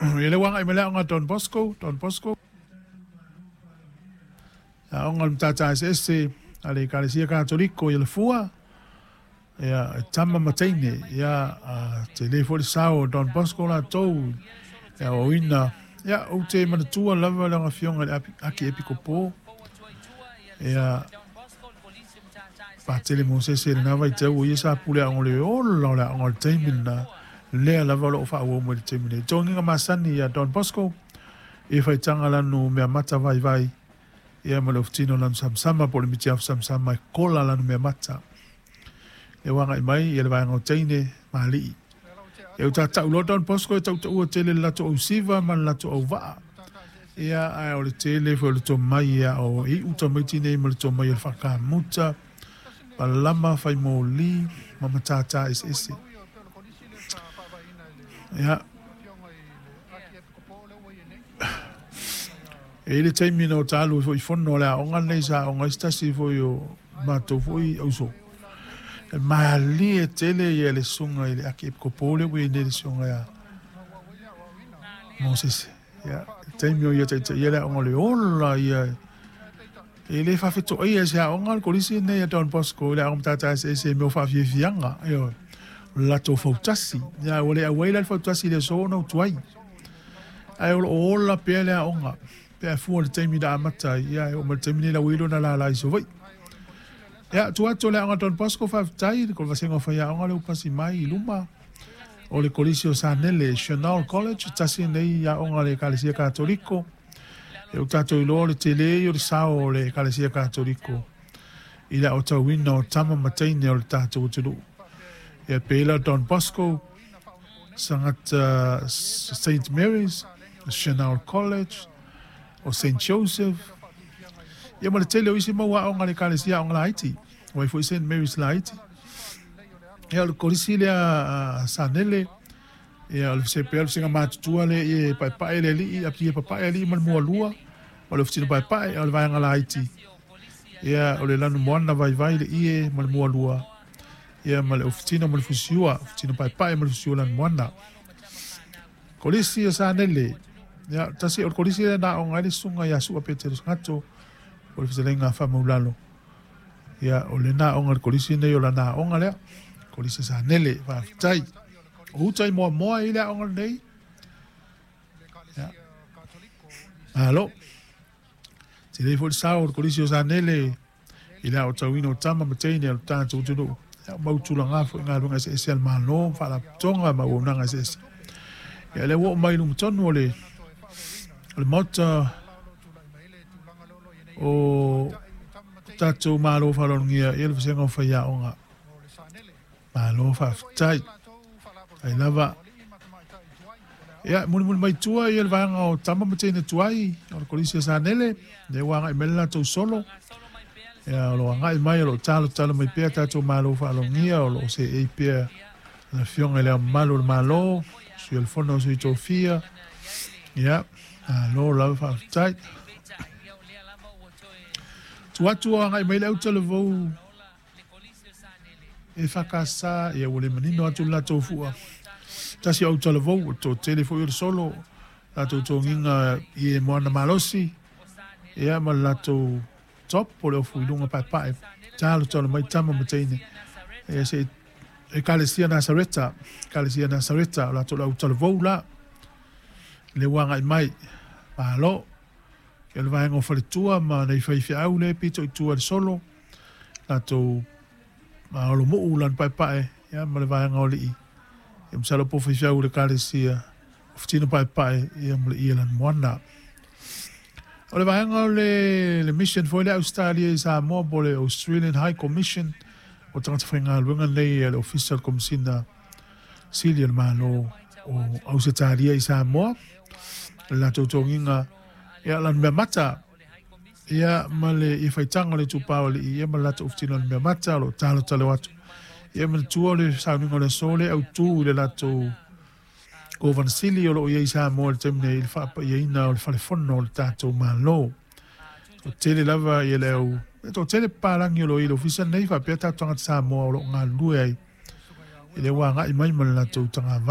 Ia lea ua agai mai le aoga a Don Bosco, Don Bosco, aoga o le Matata Eseese a le Ekalesia Katoliko i Alafua, ia, e tama ma teine, ia, a tele foi le sao o Don Bosco latou i le aoaoina. Ia, ou te manatua lava le afioga i le Akiepikopo, ia, Patele Mosese i lena vaitau, o ia sa pule aoga o le ola o le aoga o le taimi lena, lea lava o lo o faaauau mai i le taimi nei. Togiga masani ia Don Bosco, i faitaga lanu meamata vaivai, ia ma le ofutino lanu samasama po o le mitiafu samasama e kola lanu meamata. Lea ua agai mai ia le vaega o teine ma alii. Ia ua tatau loa Don Bosco e tautaua tele le latou ausiva ma le latou auvaa. Ia ae o le tele foi o le tomai ia o iu tamaiti nei ma le tomai o le faakamuta, palama, faimoli ma matata eseese. Ia, e i ai le taimi na ota alu ai foi i fono a le aoga lenei sa aoga ai se tasi foi o matou foi auso. E malie tele ia le susuga i le Akiepikopo lea ua i ai nei le susuga ia Mosese. Ia, le taimi o ia taitaia le aoga o le ola ia e le faafetoaia e se aoga le kolisi lenei a Don Bosco i le aoga matata eseese i mea o faafiafiaga, ioe, o le latou fautasi. Ia, ua le auai la le fautasi i le aso ona ou tuai. Ae o lo o ola pea le aoga pe a fua i le taimi na amata ai, ia e oo mai i le taimi nei la ua i ai lona lala i Savaii. Ia, tua atu o le aoga Don Bosco, faafetai i le vasega o faiaoga lea ua pasi mai i luma o le Kolisi o Sanele, Chanel College, tasi lenei aoga a le Ekalesia Katoliko. E ua tatou iloa o le tele ia o le sao o le Ekalesia Katoliko i le aotauina o tama ma teine o le tatou atunuu. Ia pei la Don Bosco, Sagata Saint Mary's, Chanel College, o Saint Joseph, ia ma le tele o isi mau aoga a le Ekalesia aoga laiti, ua i ai foi Saint Mary's laiti. Ia o le kolisi lea a Sanele, ia o le se pea o le vasega matutua lea e paepae le alii, ia papae alii ma le mualua, o le ofutino paepae, a o le vaega laiti, ia o le lanumoana vaivai le ie ma le mualua, ia ma le ofutino ma le fusiua, ofutino paepae ma le fusiua lanumoana. Kolisi o Sanele, ia tasi o le kolisi lea na aoga ai le susuga ia Sua Petelo Sagato, o le fetalaiga a Faamaulalo. Ia, o lena aoga le kolisi nei o lana aoga lea, Kolisi Sanele, faafetai. O uta i Moamoa i le aoga lenei. Ia. Malo. Tele foi le sao o le Kolisi o Sanele i le aotauina o tama ma teine o le tatou atunuu. Ia, mau tulaga foi galuega eseese a le Malo, faalapotopotoga ma auaunaga eseese. Ia, lea ua oo mai i luma tonu o le Maota o tatou Malo faaaloalogia ia le vasega o faiaoga. Malo faafetai. Ai lava. Ia, mulimuli mai tua ia le vaega o tama ma teine tuai o le Kolisi o Sanele, lea ua agai mai le latou solo. Ia, o lo o agai mai, o lo o talotalo mai pea tatou Malo faaaloalogia, o lo o seei pea le Afioga i Le Ao Mamalu o le Malo, Sui o le Fono a Sui Tofia. Ia, malo lava faafetai. Tu atu o agai mai le autalavou e whakasa, ia ua le manino atu le latou fua. Tasi o autalavou, o toatele foi o le solo, latou togiga i e moana malosi, ia ma le latou top o le ofu i luga paepae, talotalo mai tama ma teine. Ia se Ekalesia Nasareta, Ekalesia Nasareta, o latou le autalavou la, le ua agai mai, malo. Ia o le vaega o faletua ma nai faifeau lea e pito i tua i le solo, latou holomuu lana paepae, ia ma le vaega o alii. Ia masalo po o faifeau o le Ekalesia o Fitino Paepae, ia ma le ie Lanumoana. O le vaega o le mission foi lea Ausetalia i Samoa po o le Australian High Commission o tagata faigaluega nei a le Ofisa o le Komesina Sili o le Malo o Ausetalia i Samoa. O le latou togiga, ia lana mea mata, ia ma le ia faitaga o le itupa o alii, ia ma le latou ofutino o le mea mata, o lo o talotalo atu. Ia manatua o le sauniga o le aso lea autu i le latou Kovana Sili o lo o i ai i Samoa i le taimi nei i le faapaiaina o le falefono o le tatou Malo. O tele lava ia le au, e toatele papalagi o lo o i le ofisa lenei faapea tatou tagata Samoa o lo o galulue ai i le ua agai mai ma le latou tagavai.